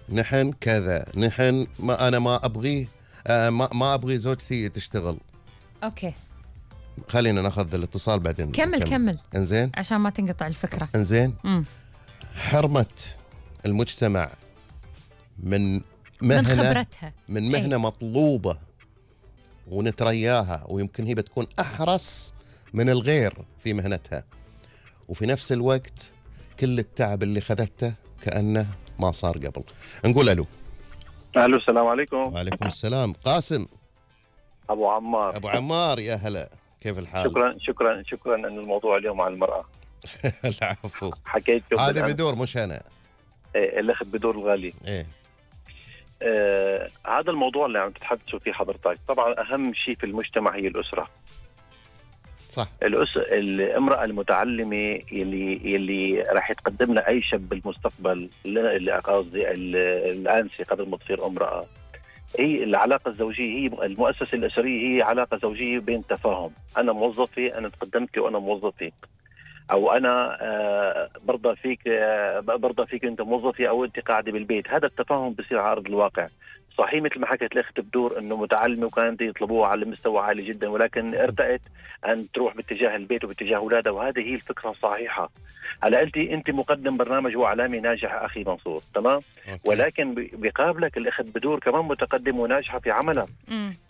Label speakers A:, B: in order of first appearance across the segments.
A: نحن كذا، نحن ما أنا ما أبغيه، ما أبغي زوجتي تشتغل.
B: أوكي،
A: خلينا ناخذ الاتصال بعدين.
B: كمل.
A: إنزين،
B: عشان ما تنقطع الفكرة.
A: إنزين. حرمة المجتمع من خبرتها، من مهنة مطلوبة ونترياها، ويمكن هي بتكون أحرص من الغير في مهنتها، وفي نفس الوقت كل التعب اللي خذته كأنه ما صار قبل. نقول ألو.
C: السلام عليكم.
A: وعليكم السلام. قاسم
C: أبو عمار.
A: يا هلا، كيف الحال؟
C: شكرا أن الموضوع اليوم عن المرأة.
A: العفو.
C: حكيت
A: هذا بدور مش أنا.
C: الأخذ بدور الغالي. هذا الموضوع اللي عم تتحدثوا فيه حضرتك، طبعا أهم شيء في المجتمع هي الأسرة.
A: صح.
C: الامرأة المتعلمة يلي راح تقدم لها أي شاب بالمستقبل، اللي قصدي الآنسة قبل ما تصير امرأة، هي العلاقة الزوجية، هي المؤسسة الأسرية، هي علاقة زوجية بين تفاهم. أنا موظفة، أنا تقدمت وأنا موظفة، أو أنا برضى فيك أنت موظفة، أو أنت قاعدة بالبيت. هذا التفاهم بصير على أرض الواقع. صحيح مثل ما حكت الأخت بدور أنه متعلمة وكانت يطلبوها على مستوى عالي جدا، ولكن ارتأت أن تروح باتجاه البيت وباتجاه أولادها، وهذه هي الفكرة الصحيحة. هلا أنت مقدم برنامج وإعلامي ناجح أخي منصور، تمام؟ ولكن بقابلك الأخت بدور كمان متقدم وناجحة في عملها.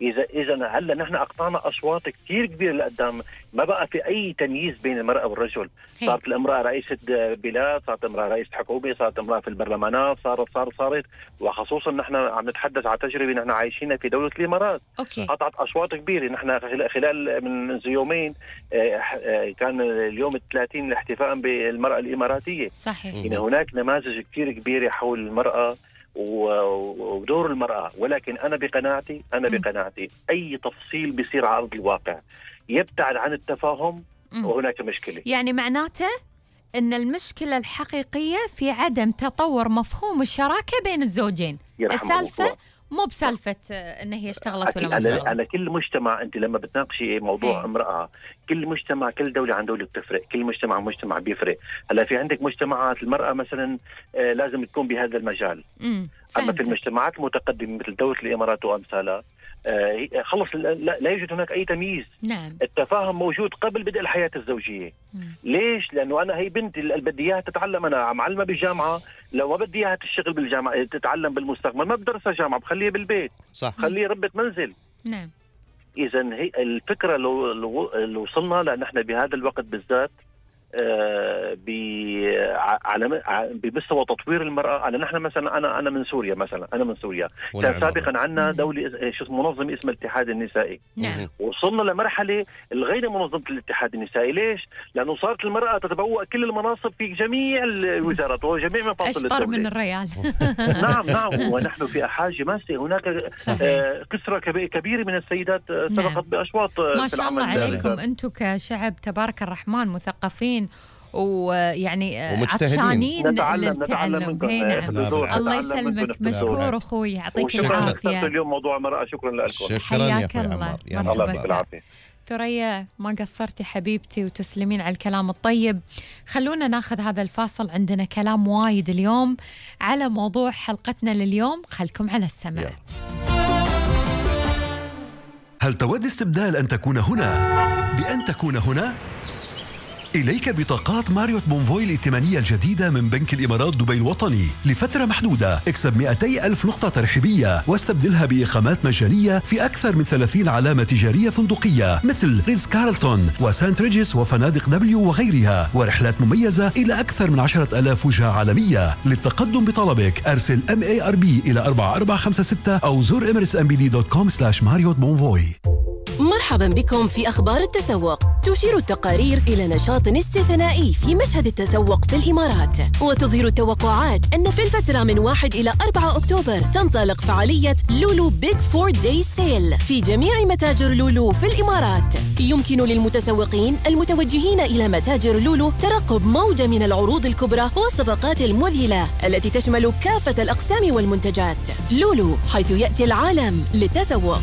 C: إذا هلا نحن أقطعنا أصوات كثير كبيرة لقدام، ما بقى في أي تمييز بين المرأة والرجل. صارت الامرأة رئيسة بلاد، صارت امرأة رئيسة حكومة، صارت امرأة في البرلمانات، صارت وخصوصا نحن عم نتحدث عن تجربة نحن عايشينها في دولة الإمارات. قطعت أصوات كبيرة. نحن خلال من يومين كان اليوم 30 الاحتفاء بالمرأة الإماراتية.
B: صحيح.
C: يعني هناك نماذج كثير كبيرة حول المرأة ودور المرأة، ولكن أنا بقناعتي أي تفصيل بيصير على أرض الواقع يبتعد عن التفاهم وهناك مشكلة.
B: يعني معناته أن المشكلة الحقيقية في عدم تطور مفهوم الشراكة بين الزوجين. السالفة مو بسالفة أن هي اشتغلت ولا ما اشتغلت.
C: أنا كل مجتمع، أنت لما بتناقشي موضوع امرأة، كل مجتمع، كل دولة عن دولة بتفرق، كل مجتمع بيفرق. هلا في عندك مجتمعات المرأة مثلا لازم تكون بهذا المجال. أما في المجتمعات المتقدمة مثل دولة الإمارات وأمثالها خلص لا يوجد هناك أي تمييز.
B: نعم.
C: التفاهم موجود قبل بدء الحياة الزوجية. ليش؟ لأنه أنا هي بنتي اللي بدي إياها تتعلم، أنا معلمة بالجامعة، لو ما بدي إياها تشتغل بالجامعة تتعلم بالمستقبل ما بدرسها جامعة، بخليها بالبيت.
A: صح.
C: خليها ربة منزل.
B: نعم.
C: إذا هي الفكرة لو وصلنا لأن احنا بهذا الوقت بالذات بمستوى تطوير المرأة. نحن مثلا أنا من سوريا مثلا، كان سابقا عندنا دولة منظمة اسمها الاتحاد النسائي. وصلنا لمرحلة الغير منظمة الاتحاد النسائي. ليش؟ لأنه صارت المرأة تتبوأ كل المناصب في جميع الوزارات وجميع مفاصل الدولة.
B: أشطر من الريال.
C: نعم. ونحن في حاجة ماسة. هناك كسرة كبيرة من السيدات سبقت بأشواط.
B: ما شاء الله عليكم أنتم كشعب تبارك الرحمن مثقفين ويعني عطشانين للتعلم. الله يسلمك، مشكور أخوي، يعطيك العافية.
C: اليوم موضوع المرأة. شكرا لكم.
B: حياك الله.
C: الله يعطيك العافية.
B: ثريا ما قصرتي حبيبتي وتسلمين على الكلام الطيب. خلونا ناخذ هذا الفاصل، عندنا كلام وايد اليوم على موضوع حلقتنا لليوم. خلكم على السمع.
D: هل تود استبدال أن تكون هنا بأن تكون هنا؟ إليك بطاقات ماريوت بونفوي الائتمانية الجديدة من بنك الإمارات دبي الوطني لفترة محدودة. اكسب 200,000 نقطة ترحيبية واستبدلها بإقامات مجانية في أكثر من 30 علامة تجارية فندقية مثل ريتز كارلتون وسانت ريجيس وفنادق دبليو وغيرها، ورحلات مميزة إلى أكثر من 10,000 وجهة عالمية. للتقدم بطلبك أرسل MARB إلى 4456 أو زور emiratesmbd.com/ماريوت بونفوي.
E: مرحبا بكم في أخبار التسوق. تشير التقارير إلى نشاط استثنائي في مشهد التسوق في الإمارات، وتظهر التوقعات أن في الفترة من 1 إلى 4 أكتوبر تنطلق فعالية لولو بيج 4 داي سيل في جميع متاجر لولو في الإمارات. يمكن للمتسوقين المتوجهين إلى متاجر لولو ترقب موجة من العروض الكبرى والصفقات المذهلة التي تشمل كافة الأقسام والمنتجات. لولو، حيث يأتي العالم للتسوق.